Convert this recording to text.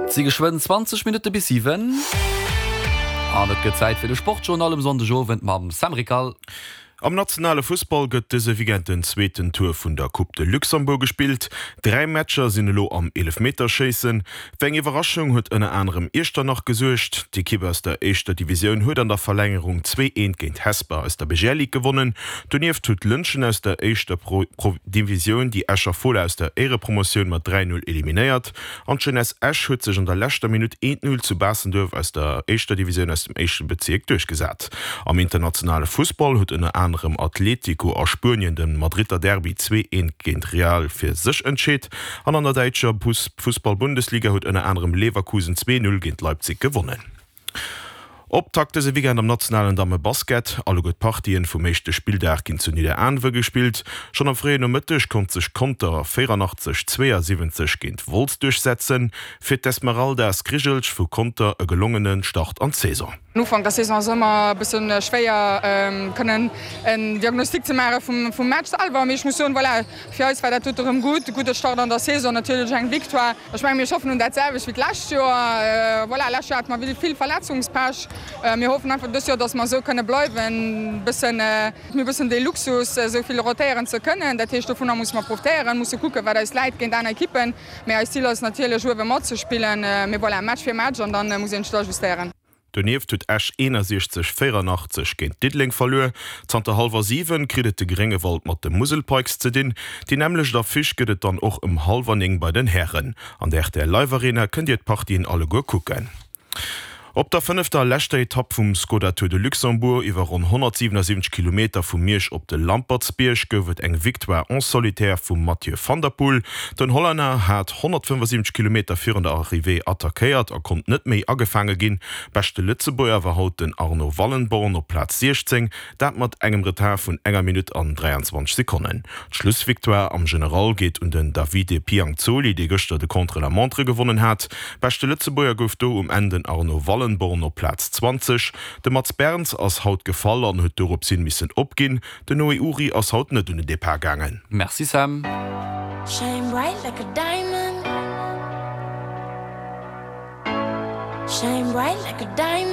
Et si geschwënn 20 Minutte bis 7 an et gëtt Zäit fir de Sportjournal um Sonndegowend mam Sam Rickal. Am nationale Fussball gëtt dëse Weekend den zweeten Tour vun der Coupe de Luxembourg gespillt. Dräi Matcher sinn elo am Eelefmeterschéissen. Fir eng Iwwerraschung huet ënner anerem Iechternach gesuergt. D'Ekipp aus der éischter Divisioun huet an der Verlängerung 2, 1 géint Hesper aus der BGL Ligue gewonnen. Donieft huet Lëntgen aus der éischter Divisioun déi Escher Fola aus der Éierepromotioun mat 3, 0 eliminéiert. An d'Jeunesse Esch huet sech an der leschter Minutt 1, 0 zu Baastenduerf aus der éischter Divisioun aus dem éischte Bezierk duerchgesat. Am internationale Fussball huet ënner anerem Atlético a Spuenien de Madridder Derby 2, 1 géint Real fir sech entscheet an an der däitscher Fussball-Bundesliga huet ënner anerem Leverkusen 2, 0 géint Leipzig gewonnen. Optakt dëse Weekend am nationalen Damme-Basket. Alleguer d'Partien vum éischte Spilldag ginn zu Nidderaanwe gespillt. Schonn am fréien Nomëtteg konnt sech Conter 84, 72 géint Wolz duerchsetzen. Fir d'Esmeralda Skrijelj vu Conter e gelongene Start an d'Saison. Den Ufank der Saison ass ëmmer e bësse schwéier kënnen en Diagnostic ze maache vum Match selwer, mee ech muss soen, voilà, fir eis war dat dote rëm gutt, e gudde Start an der Saison, natierlech eng Victoire. Ech mengen, mir schaffen un dat selwecht wéi d'lescht Joer. Voilà, lescht Joer hate mer vill Verletzungspech. Mir hoffen einfach dëst Joer, datt mer esou kënne bleiwen, e bëssen, mir hu e bëssen dee Luxus, esou vill rotéieren ze kënnen. Dat heescht, dovunner musse mer profitéieren, musse kucken, wat eis läit géint aner Ekippen. Mee eist Zil ass natierlech, uewe matzespillen. Mee voilà, Match fir Match an da muss een sech ajustéieren. Donieft huet Esch 61, 84 géint Diddeleng verluer. Zanter hallwer 7 kritt et de Gréngewald mat de Musel Pikes ze dinn. Déi nämmlecht Affiche gëtt et dann och ëm hallwer 9 bei den Hären. An der rtl Live Arena kënnt Dir d'Partien alleguer kucken. Op der fënnefter a leschter Etapp vum Skoda Tour de Luxembourg iwwer ronn 177 Kilometer vu Miersch op de Lampertsbierg gouf et eng Victoire en solitaire vum Mathieu van der Poel. Den Hollänner hat 175 Kilometer virun der Arrivée attackéiert a konnt net méi agefaange ginn. Beschte Lëtzebuerger war haut den Arno Wallenborn op Plaz 16, dat mat engem Retard vun enger Minutt an 23 Sekonnen. D'Schlussvictoire am General geet un den Davide Pianzoli, dee gëschter de Contre-la-montre gewonnen hat. Beschte Lëtzebuerger gouf do um Enn den Arno Wallenborn op Plaz 20. De Mats Berns ass haut gefall an huet dorops hin missen opginn. Den Noé Uri ass haut net un den Depart gaangen. Merci Sam. Shine bright like a diamond Shine bright like a diamond.